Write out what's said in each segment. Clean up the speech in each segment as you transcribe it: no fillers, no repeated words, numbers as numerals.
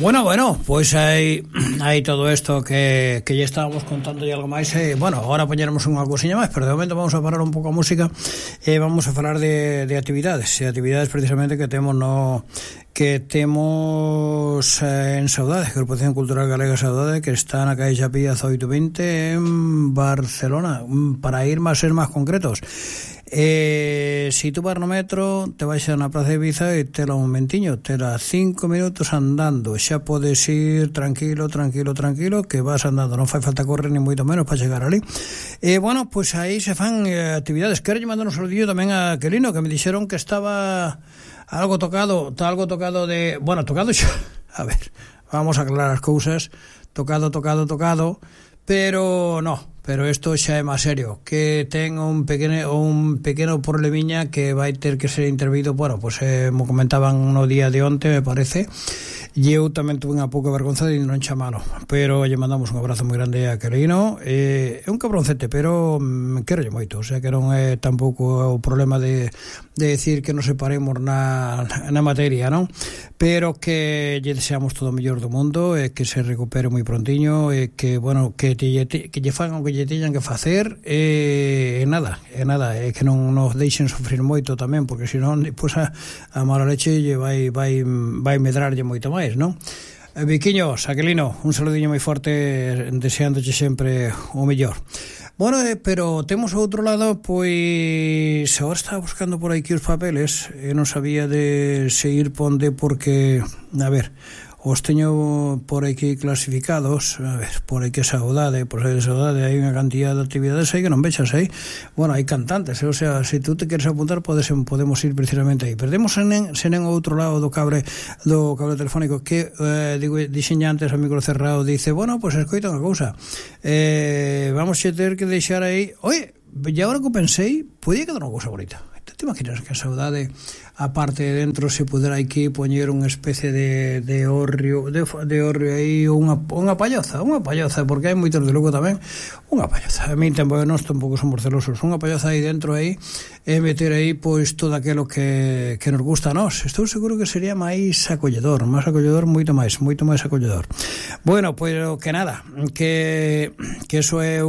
Bueno, pois hai todo isto que ya estábamos contando e algo máis. Bueno, agora poñeremos unha cousiña máis, pero de momento vamos a parar un pouco a música e vamos a falar de actividades precisamente que temos en Saudade, Agrupación Cultural Galega Saudade, que está na calle Chapilla 1820 en Barcelona. Para ir máis ser máis concretos, si tú vas no metro, te vais a na Praza de Ibiza e tela un momentiño, tela 5 minutos andando, xa podes ir tranquilo, que vas andando, non fai falta correr ni moito menos para chegar ali. Bueno, pois aí se fan actividades. Quero lle mandar un saludillo tamén a Quelino, que me dixeron que estaba algo tocado de... Bueno, tocado xa... A ver, vamos a aclarar as cousas. Tocado, pero no... Pero isto xa é máis serio, que ten un pequeno problemiña que vai ter que ser intervido. Bueno, pois mo comentaban no día de onte, me parece, e eu tamén tuve unha pouca vergonza de non chamalo, pero lle mandamos un abrazo moi grande a Querino. É un cabroncete, pero quero lle moito, o sea que non é tampouco o problema de decir que nos separemos na materia, non? Pero que lle deseamos todo o mellor do mundo, e que se recupere moi prontiño, e que, bueno, que lle fagan o que lle teñan que facer, nada, que non nos deixen sufrir moito tamén, porque senón depois a mala leche lle vai medrarlle moito máis, non? Viquiños, Aquilino, un saludiño moi forte, deseándoche sempre o mellor. Bueno, pero temos ao outro lado, pois agora estaba buscando por aquí os papeles e non sabía de se ir ponde, porque, a ver, os teño por aquí clasificados. A ver, por aquí Saudade, por aí Saudade hai unha cantidad de actividades aí que non vexas aí. Bueno, hai cantantes, o sea, se tú te queres apuntar podemos ir precisamente aí. Perdemos sen en outro lado do cable telefónico, que dixen antes ao micro cerrado, dice, bueno, pois escoita unha cousa, vamos a ter que deixar aí. Oye, e agora que pensei, podía quedar unha cousa bonita. Te imaginas que a Saudade, a parte de dentro, se pudera aquí poñer unha especie de hórreo aí, unha palloza, porque hai moitos de Lugo tamén, unha palloza. A mí nós tampouco somos celosos, unha palloza aí dentro aí, e meter aí pois todo aquilo que nos gusta a nós. Estou seguro que sería máis acolledor, moito máis acolledor. Bueno, pois que nada, que eso é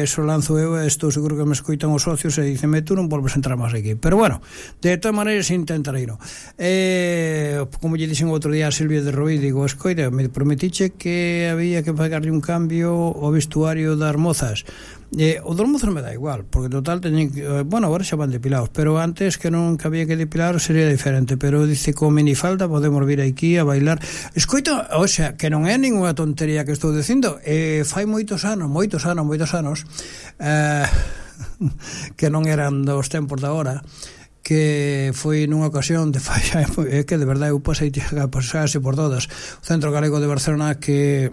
eso lanzo eu, estou seguro que me escoitan os socios e dicen, tú non volves a entrar máis aquí. Pero bueno, de todas maneiras intentarei, no. Como lle dixen outro día a Silvia de Roí, digo, escoita, me prometiche que había que pagarle un cambio ao vestuario das mozas. O dos mozos me dá igual, porque total teñen que, bueno, agora xa van depilados, pero antes que non había que depilar sería diferente. Pero dice, con minifalda podemos vir aquí a bailar. Escoita, o sea, que non é ninguna tontería que estou dicindo. Fai moitos anos que non eran dos tempos da hora, que foi nunha ocasión que de verdade eu pasei por todas, o Centro Galego de Barcelona, que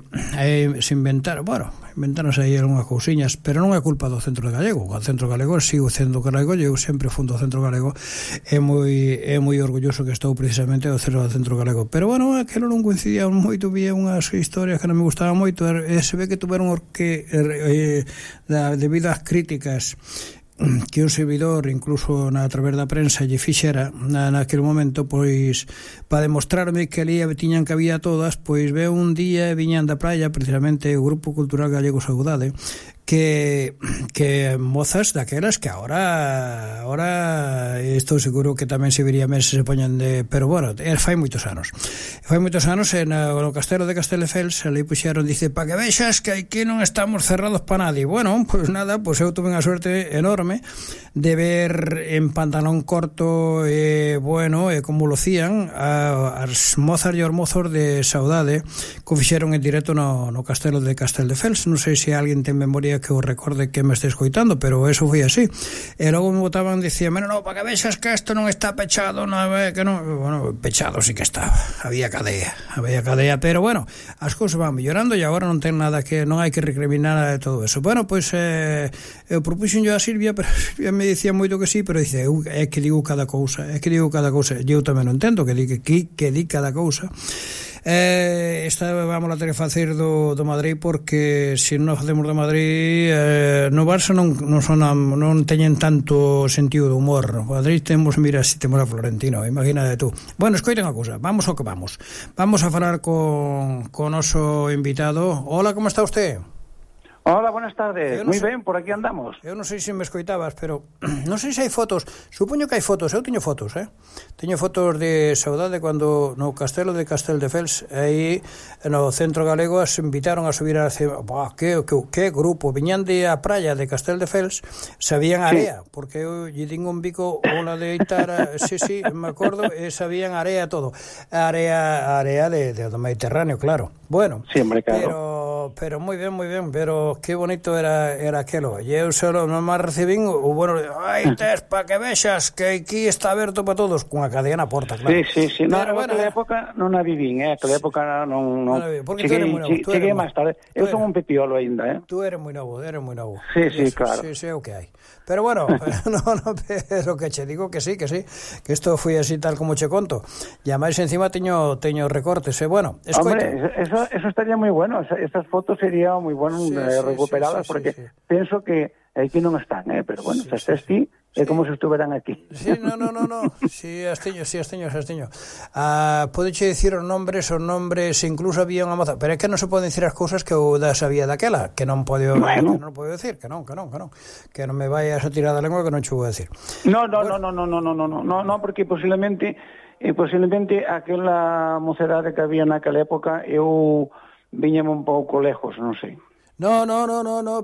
se inventáronse aí algunhas cousiñas, pero non é culpa do Centro Galego. O Centro Galego sigo sendo galego, eu sempre fundo o Centro Galego, é moi orgulloso que estou precisamente ao Centro Galego. Pero bueno, aquilo non coincidía moito, vía unhas historias que non me gustaban moito, e se ve que tuveron debido ás críticas que un servidor, incluso a través da prensa, lle fixera naquele momento, pois para demostrarme que ali tiñan que había todas, pois veo un día e viñan da praia precisamente o Grupo Cultural Galego Saudade, que mozas daquelas que ahora estou seguro que tamén se vería meses se poñan de... Pero bueno, fai moitos anos no Castelo de Castelldefels, ali puxeron, dice, para que vexas que aquí non estamos cerrados para nadie. Bueno, pois nada, pois eu tuve unha suerte enorme de ver en pantalón corto, como lucían as mozas e os mozos de Saudade, que fixeron en directo no Castelo de Castelldefels. Non sei se alguén ten memoria que os recorde que me este escoitando, pero eso foi así. E logo me botaban, dicían, no, para que vexas que isto non está pechado, que non. Bueno, pechado sí que estaba, había cadea, pero bueno, as cousas van mellorando e agora non ten nada que, non hai que recriminar nada de todo eso. Bueno, pois eu propuxen yo a Silvia, pero Silvia me dicía moito que sí, pero dice, é que digo cada cousa, e eu tamén non entendo que di cada cousa. Esta vamos a ter que facer do Madrid, porque se non facemos do Madrid, no Barça non teñen tanto sentido de humor. No Madrid mira, se temos a Florentino, imagínate tú. Bueno, escoiten a cousa, vamos ao que vamos a falar con o noso invitado. Hola, como está usted? Hola, buenas tardes. Moi ben, por aquí andamos. Eu non sei se me escoitabas, pero non sei se hai fotos. Supoño que hai fotos, eu teño fotos, Teño fotos de saudade cando no castelo de Casteldefels, aí no centro galego, as invitaron a subir a cima. Que grupo, viñan de a praia de Casteldefels, sabían area, porque eu lle din un bico unha de Itara, sí, me acordo, e sabían area todo. Area do Mediterráneo, claro. Bueno, sí, hombre, claro. Pero moi ben, pero que bonito era aquelo. E eu solo non máis recibín o bueno, tes para que vexas que aquí está aberto para todos, cunha cadea na porta, claro. Sí. Pero bueno, aquela época non a vivín, aquela época non. Porque cheguei, tú eres moi novo. Cheguei máis tarde. Eu son un pepiolo aínda, Tú eres moi novo. Sí, claro. Sí, o que hai. Pero bueno, pero que che digo que sí, que isto foi así tal como che conto. E máis encima teño recortes, bueno, escoita. Hombre, eso estaría moi bueno, esas fotos sería moi bueno recuperadas, porque penso que aquí non están, pero bueno, se estés ti, é como se estuveran aquí. Sí, no. Sí, as teño. Podeche dicir os nombres, incluso había unha moza, pero é que non se poden dicir as cousas que eu sabía daquela, que non podo decir, que non me vayas a tirar da lengua que non che vou a decir. No, porque posiblemente aquela mocedade que había naquela época, eu viñame un pouco lejos, non sei. No,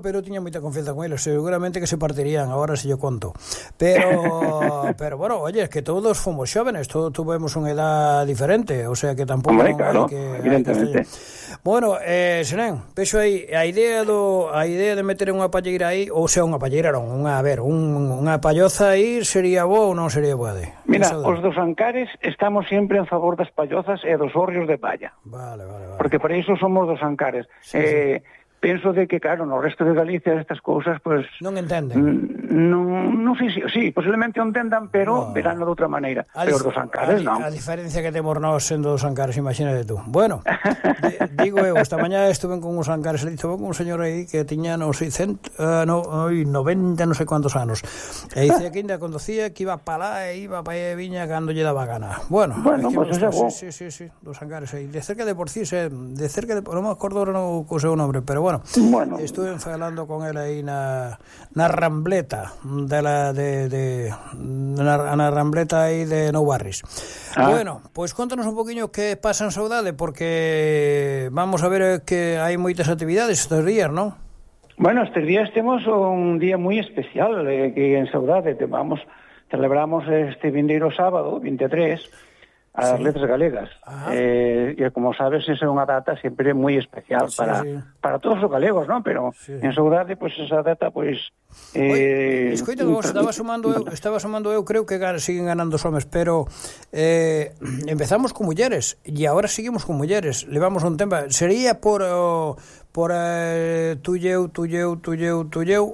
pero tiña moita confianza con eles, seguramente que se partirían, agora se yo conto. Pero bueno, oye, es que todos fomos xóvenes, todos tuvemos unha edad diferente, o sea que tampouco claro, evidentemente. Bueno, Senén, vexo aí a idea de meter unha palleira aí, ou sea, unha palleira non, unha palloza aí sería boa ou non sería boa de? Mira, os dos Ancares estamos sempre en favor das pallozas e dos hórreos de palla. Vale. Porque para iso somos dos Ancares. Sí. Penso de que, claro, no resto de Galicia estas cousas, pues non entenden. Non sei si, posiblemente o entendan, pero verán de outra maneira. Pero dos Ancares, non. A diferencia que temos nós sendo dos Ancares, imagínate tú. Bueno, digo eu, esta mañá estuve con uns Ancares, estuve con un señor aí que tiña, non sei, 90, non sei cuántos anos. E dice que ainda conducía, que iba para lá e iba para aí e viña cando lle daba gana. Bueno, pues é bo. Sí, dos Ancares aí. De cerca de Porcís, non me acordo ahora o seu nombre, pero bueno, estuve falando con él aí na Rambleta na Rambleta aí de Nou Barris. Bueno, pois contanos un poquinho que pasa en Saudade, porque vamos a ver que hai moitas actividades estes días, non? Bueno, estes días temos un día moi especial que en Saudade celebramos este vindeiro sábado, 23, as letras galegas. E como sabes, esa é unha data sempre moi especial para todos os galegos, non? Pero en Saudade, pois esa data, pois escoita, estaba sumando eu, creo que siguen ganando os homes, pero empezamos con mulleres e agora seguimos con mulleres, levamos un tempo. Sería por tulleu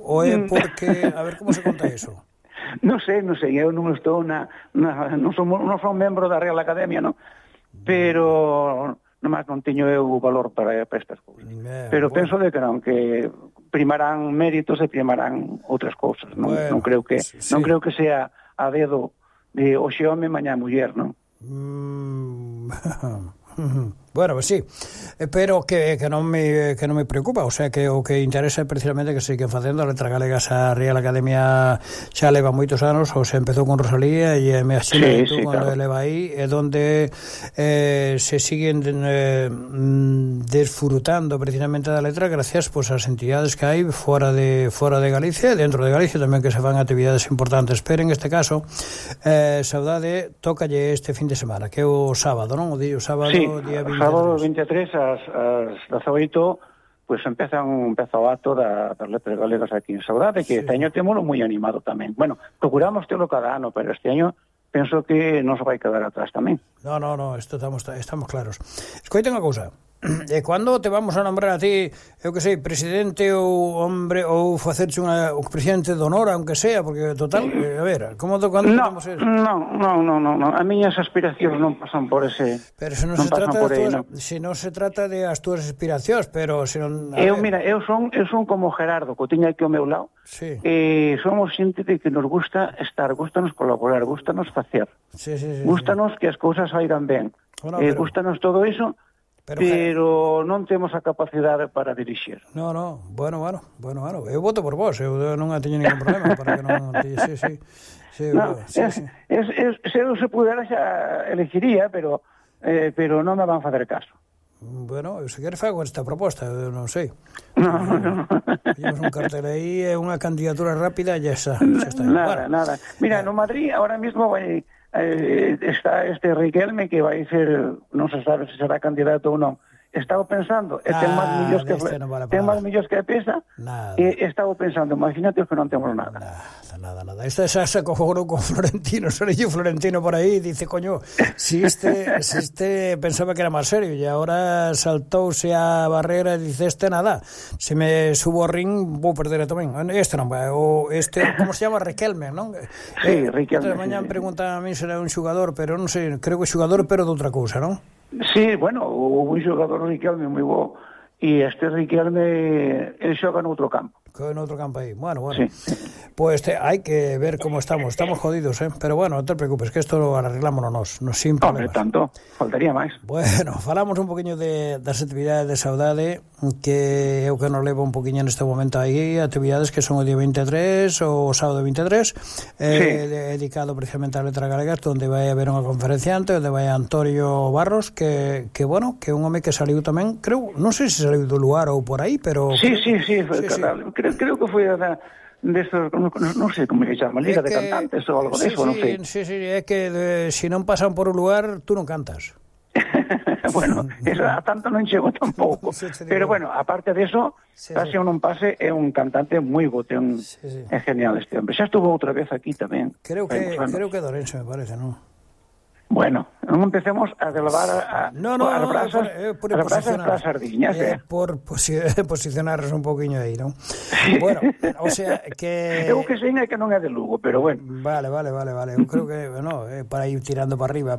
ou é porque, a ver como se conta iso? Non sei, eu non estou non son membro da Real Academia, non? Pero nomás non teño eu o valor para estas cousas. Pero penso de que non, que primarán méritos e primarán outras cousas, non? Non creo que sea a dedo de hoxe home, mañá muller, non? Bueno, pues sí, pero que non me preocupa, o sea que o que interesa é precisamente que se siguen facendo a letra galega. A Real Academia xa leva moitos anos, ou se empezou con Rosalía e me axina cando claro. Leva aí, é donde se siguen desfrutando precisamente da letra gracias pues ás entidades que hai fora de Galicia e dentro de Galicia tamén, que se fan actividades importantes. Pero en este caso Saudade tócalle este fin de semana, que é o sábado, non? O sábado, día 23. Sábado 23 ás 18, pues empeza o acto das letras galegas aquí en Saudade, que este año témolo moi animado tamén. Bueno, procuramos telo cada ano, pero este año penso que non se vai quedar atrás tamén. No, isto estamos claros. Escoita unha cousa. E cando te vamos a nombrar a ti, eu que sei, presidente ou hombre, ou facerche o presidente de honor, aunque sea, porque total, a ver, cando podemos ser? No, a miñas aspiracións non pasan por ese... Pero se non se trata se non se trata de as túas aspiracións, pero se non... Mira, eu son como Gerardo, que o tiña aquí ao meu lado, somos xente de que nos gusta estar, gustanos colaborar, gustanos facer, gustanos que as cousas saigan ben, gustanos todo iso, pero non temos a capacidade para dirixir. No, bueno, eu voto por vos, eu non teño ningún problema para que non... Se eu se pudera xa elegiría, pero non me van facer caso. Bueno, se queres fago esta proposta, eu non sei. Temos un cartel aí, é unha candidatura rápida e xa está. Nada. Mira, no Madrid ahora mismo está este Riquelme que vai ser, non se sabe se será candidato ou non. Estaba pensando, ten máis millóns que pesa, e estaba pensando, imagínate que non temos nada. Nada. Esta xa se cojou con Florentino, Sorello Florentino por aí, dice, coño, si este pensaba que era máis serio, e agora saltouse a barrera e dice, nada, se me subo ao ring, vou perder tamén. Este non vai, como se chama, Riquelme, non? Sí, Riquelme. Mañá preguntan a mí se era un xugador, pero non sei, creo que xugador, pero de outra cousa, non? Sí, bueno, un xogador Riquelme moi bo, e este Riquelme, ele xoga no outro campo. En outro campo aí, bueno. Sí. Pues hai que ver como estamos jodidos, pero bueno, non te preocupes, que isto lo arreglámonos nos sin problemas. Tanto, faltaría máis. Bueno, falamos un poquinho das actividades de saudade, que eu que nos levo un poquinho neste momento aí, actividades que son o día 23, o sábado 23, dedicado precisamente ás letras galegas, onde vai haber unha conferenciante, onde vai Antonio Barros, que bueno, que é un home que saliu tamén, creo, non sei se saliu do lugar ou por aí, pero... Sí, creo que foi non sei como se chama, Liga de Cantantes ou algo deso, non sei. Sí, é que se non pasan por un lugar, tú non cantas. Bueno, eso a tanto non chego tampouco. Pero bueno, aparte de eso, pase ou non pase, é un cantante moi bo, é genial este hombre. Xa estuvo outra vez aquí tamén. Creo que Dorense, me parece, non? Bueno, non empecemos a elevar as brasas para as sardiñas, por posicionarnos un poquinho aí, non? Bueno, o sea, que... Eu que sei é que non é de Lugo, pero bueno. Vale, eu creo que, para ir tirando para arriba,